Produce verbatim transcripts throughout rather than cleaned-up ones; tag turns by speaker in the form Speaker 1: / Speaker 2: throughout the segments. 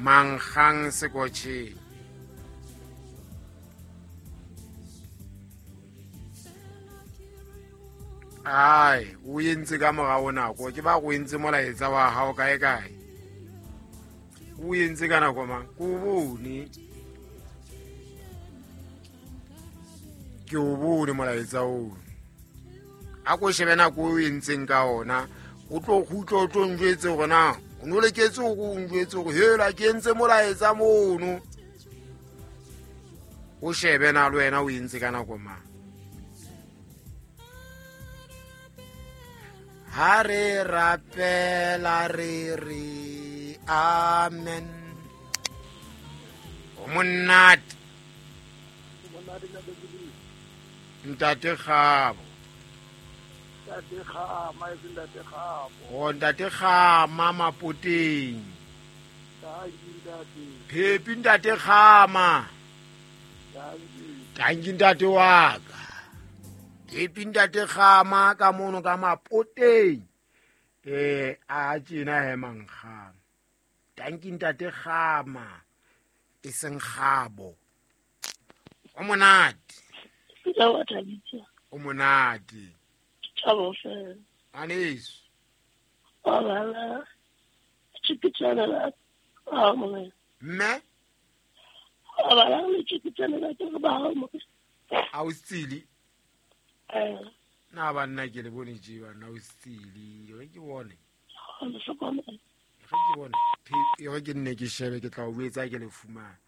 Speaker 1: Mankgang Sekotjheng. Ai, o entse ka morao nako, ke ba go entse molaetsa wa hao kae kae. O entse ka nako mang? Ke o bone. Ke o bone molaetsa oo. A ko shebe nako o entseng ka ona, o tlo kgutla o tlo njwetse hore na o no leketse hore o njwetse hore hela ke entse molaetsa mono. O shebe na le wena o entse ka nako mang. Ha re rapela re re amen. O monate. Ntate Kgabo.
Speaker 2: Ntate Kgama, e seng Ntate Kgabo.
Speaker 1: O Ntate Kgama Mapoteng.
Speaker 2: Tanki ntate.
Speaker 1: Phepi Ntate Kgama.
Speaker 2: Tanki.
Speaker 1: Tanki ntate wa ka. Phepi Ntate Kgama ka mono ka Mapoteng. Eh a tjena he mankgang. Tanki Ntate Kgama. E seng Kgabo. O monate. O monate.
Speaker 3: Thabo fela.
Speaker 1: Aneso.
Speaker 3: Wa bala. Tshikitsana la ba mo.
Speaker 1: Mme?
Speaker 3: Wa bala le tshikitsana la ke ba mo.
Speaker 1: A o tsili?
Speaker 3: Eh.
Speaker 1: Na ba nna ke le bone tje ba na o tsili. Re ke bone.
Speaker 3: Re hlokomela.
Speaker 1: Re ke bone. Re ke nne ke shebe ke tla o etsa ke le fumana.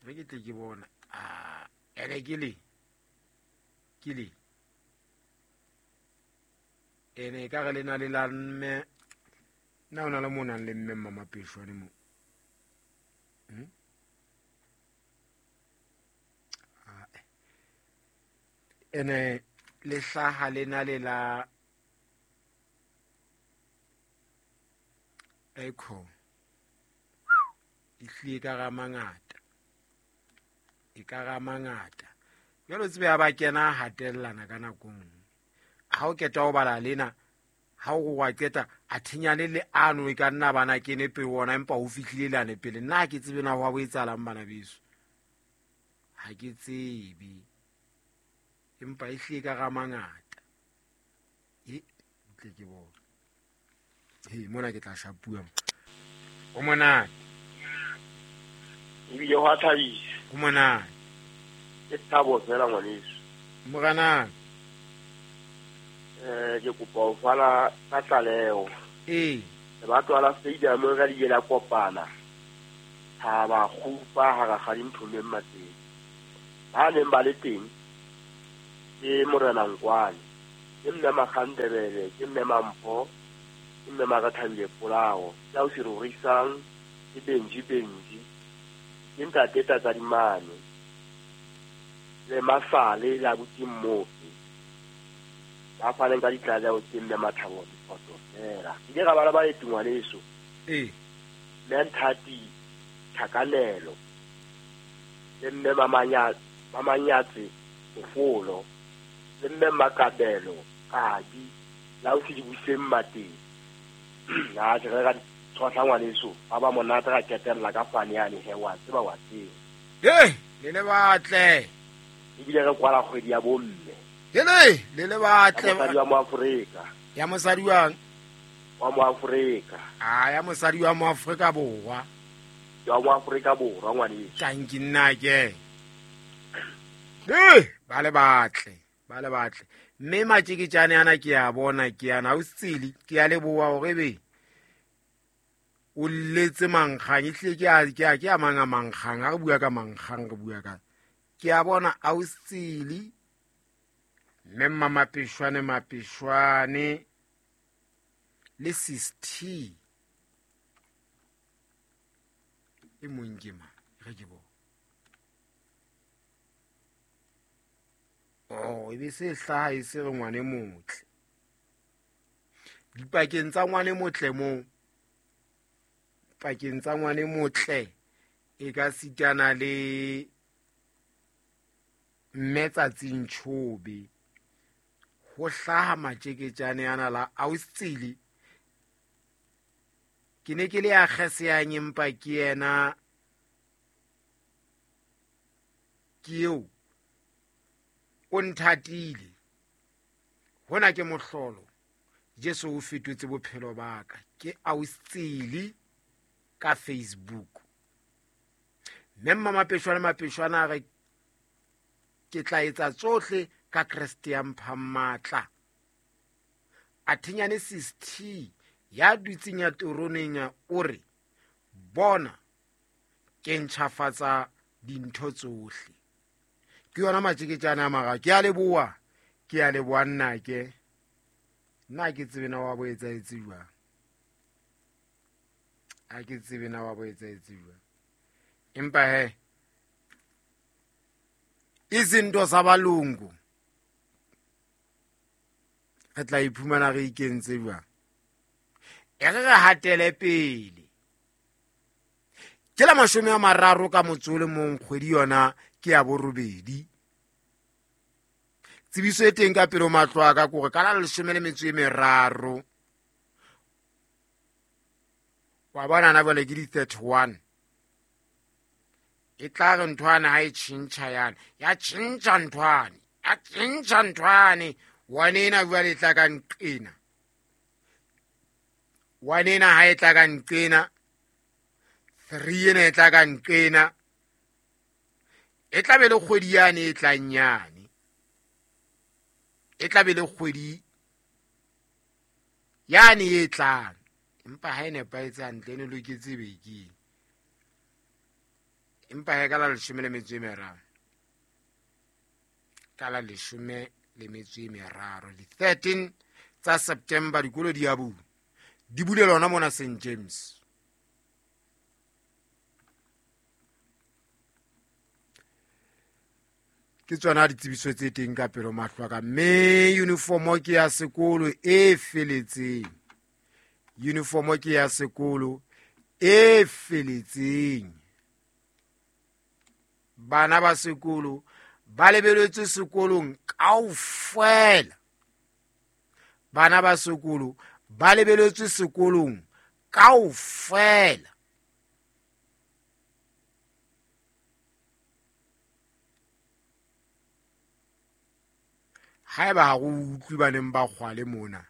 Speaker 1: Re ke tle ke bona. Ah, ene ke le. Ke le. Ene ka re le na le la mme na o na le mo nang le mme mama Peshwane mo. Hm? Ah. Ene le hlaha le na le la Echo. E hlile ka ra mangata. E ka ra mangata. Jwalo tsebe ya ba kena hatellana ka nakong. Ha o keta o bala lena, ha o wa qeta a thinyane le ano e ka nna bana kene pe wona empa o fihlile lane pele. Nna ha ke tsebe na ho etsahalang bana beso. Ha ke tsebe. Empa e hlile ka ra mangata. E tle ke bona. He mona ke tla shapua. O monate.
Speaker 2: Ebile ho a thabisa.
Speaker 1: O monate.
Speaker 2: Ke thabo fela ngwaneso.
Speaker 1: Morana.
Speaker 2: Eh ke kopa ho fana ka tlaleho.
Speaker 1: Eh.
Speaker 2: Batho la stadium re di la kopana. Ha ba kgupa ha ra ga dinthomeng matseng. Ba neng ba le teng ke Morena Nkwane, ke mme Makgandebele, ke mme Mampho, ke mme Marathabile Polao, ke o sirorisang, ke Benji Benji, ke ntate Tatsadimane, le Masale la Butimmopi. Ba faneng ka ditlaleho tse mme Mathabo diphoto fela. Ke ra bala ba le tengwaneso.
Speaker 1: Eh.
Speaker 2: Mme Nthati Thakanelo. Le mme Mamanya Mamanyatse Mofolo. Le mme Makabelo Kadi la o se dibuseng mateng. Na ke re ka tshwahla ngwaneso ba ba monate ra ketella ka fane yane he wa tseba wa tseba.
Speaker 1: Eh, le le batle.
Speaker 2: Ebile re kwala kgwedi ya bomme.
Speaker 1: Hele, le le batle.
Speaker 2: Mosadi wa Moafrika.
Speaker 1: Ya mosadi wa
Speaker 2: wa Moafrika.
Speaker 1: Ah, ya mosadi wa Moafrika Borwa.
Speaker 2: Ya Moafrika Borwa ngwaneso.
Speaker 1: Tanki nna ke. Eh, ba le batle, ba le batle. Mme matjeketjane ana ke a bona ke ana o tsili, ke a leboha hore be o letse mankgang e hlile ke a ke a ke a mang a mankgang ha re bua ka mankgang re bua ka. Ke a bona a o tsili. Mme Mama Peshwane Mapeshwane le Sis T e mong ke mang re ke bona. Oh, e be se hlaha e se re ngwane motle. Dipakeng tsa ngwane motle mo pakeng tsa ngwane motle e ka sitana le mme Tsatsing Chobe. Ho hlaha matjeketjane ana la Austsili. Ke ne ke le ya kgeseyang empa ke yena ke eo o nthatile. Hona ke mohlolo. Jesu o fetotse bophelo ba ka. Ke austsili ka Facebook. Mme Mmamapeshwana Mapeshwana a re ke tla etsa tsohle ka Kreste ya mphang matla. A thinyane sixty ya dutseng ya teroneng o re bona ke ntjhafatsa dintho tsohle. Ke yona matjeketjana a mara ke a leboha, ke a leboha nnake. Nna ke tsebe na wa bo etsahetse jwang. Ha ke tsebe na wa bo etsahetse jwang. Empa he izinto zabalungu re tla iphumana re ikentse jwang. E re re hatele pele. Ke la mashome a mararo ka motso o le mong kgwedi yona ke ya borobedi. Tsebiso e teng ka pele ho mahlo a ka ke hore ka la leshome le metso e meraro. Wa bona na jwale ke di thirty-one. E tla re nthwane ha e tjhentjha yane. Ya tjhentjha nthwane. Ya tjhentjha nthwane. One ena jwale e tla ka nqena. One ena ha e tla ka nqena. Three ena e tla ka nqena. E tla be le kgwedi yane e tlang yane. E tla be le kgwedi yane e tlang. Empa ha e nepahetse hantle, e ne loketse bekeng. Empa he ka la leshome le metso e meraro. Ka la leshome le metso e meraro. Di thirteen tsa September dikolo di a bula. Di bulelwa hona mona Saint James. Ke tsona ditsebiso tse teng ka pele ho mahlo a ka. Mme uniform ke ya sekolo e feletseng. Uniform ke ya sekolo e feletseng. Bana ba sekolo ba lebeletswe sekolong kaofela. Bana ba sekolo ba lebeletswe sekolong kaofela. Haeba ha go utlwe ba neng ba kgwale mona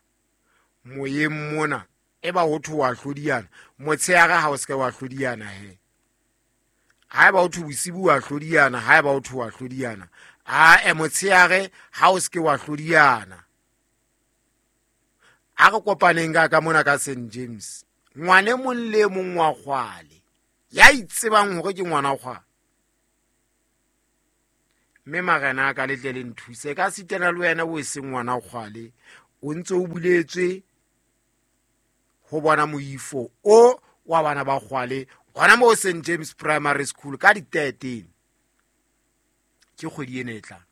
Speaker 1: moyeng mona e ba ho thwe wa hlodiyana motshehare ha o se ke wa hlodiyana he. Haeba o thwe bosibu wa hlodiyana, haeba o thwe wa hlodiyana, a e motshehare ha o se ke wa hlodiyana. A re kopaneng ka ka mona ka Saint James. Ngwane mong le mong wa kgwale ya itsebang hore ke ngwana kgwale. Mme marena a ka le tle le nthuse ka sitana le wena o seng ngwana kgwale o ntse o buletswe ho bona moifo o wa bana ba kgwale hona mo Saint James Primary School ka di thirteen ke kgwedi ena e tlang.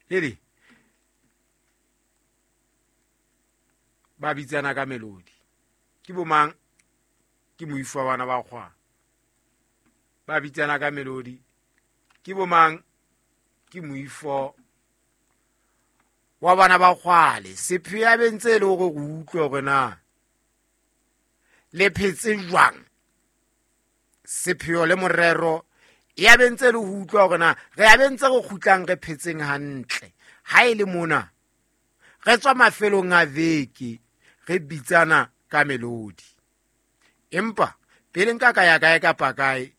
Speaker 1: Lele ba bitsana ka melodi ke bomang ke moifo wa bana ba kgwale ba bitsana ka melodi ke bomang ke moifo wa bana ba kgwale. Sepheo ya bentse e le hore re utlwe hore na le phetse jwang. Sepheo le morero ya bentse le ho utlwa hore na re ya bentse re kgutlang re phetseng hantle. Ha e le mona re tswa mafelong a veke re bitsana ka melodi. Empa pele nka ka ya kae kapa kae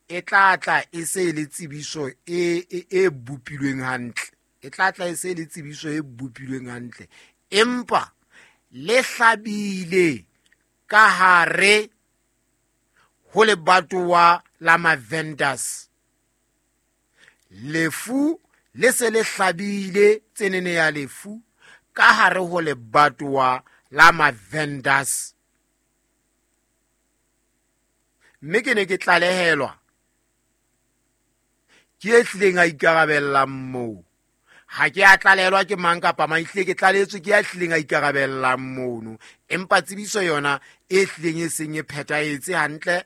Speaker 1: e tla tla e se le tsebiso e e e bopilweng hantle. E tla tla e se le tsebiso e bopilweng hantle. Empa le hlabile ka hare ho lebatowa la Mavenders. Lefu le se le hlabile tsenene ya lefu ka hare ho lebatowa la Mavenders. Mme ke ne ke tlalehelwa ke e hlileng a ikarabellang moo. Ha ke a tlalelwa ke mang kapa mang, ehlile ke tlaletswe ke ya hlileng a ikarabellang mono. Empa tsebiso yona e hlileng e seng e phethahetse hantle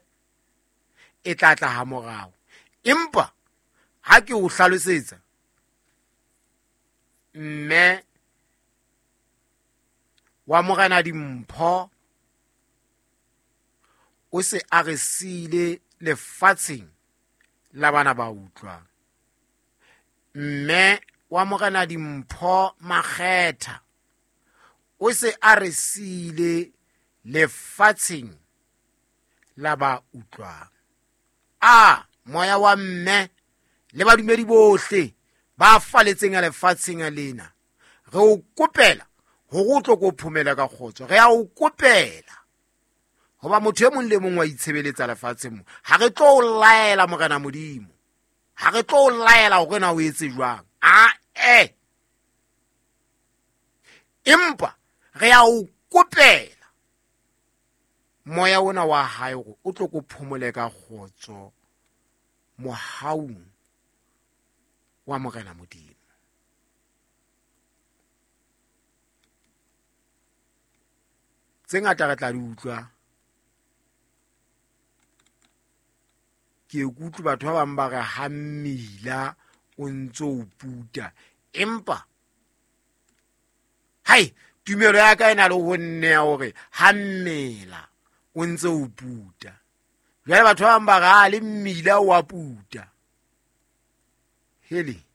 Speaker 1: e tla tla ha morao. Empa ha ke o hlalosetsa mme wa morena dimpho o se a re siile lefatsheng la bana ba utlwang. Mme wa Morena Dimpho Makgetha o se a re siile lefatsheng la ba utlwang. A moya wa mme le badumedi bohle ba faletseng a lefatsheng lena, re o kopela hore o tlo ko phomela ka kgotso. Re a o kopela hoba motho e mong le mong wa itshebeletsa lefatsheng mo. Ha re tlo o laela Morena Modimo, ha re tlo o laela hore na o etse jwang, a e empa re a o kopela moya ona wa hae hore o tlo ko phomole ka kgotso mohaung wa Morena Modimo. Tse ngata re tla di utlwa. Ke ikutlwe batho ba bang ba re ha mmila o ntso o puta, empa hai tumelo ya ka e na le ho nneha hore ha mmela o ntse o puta. Jwale batho ba bang ba re ha le mmila o a puta. Hele.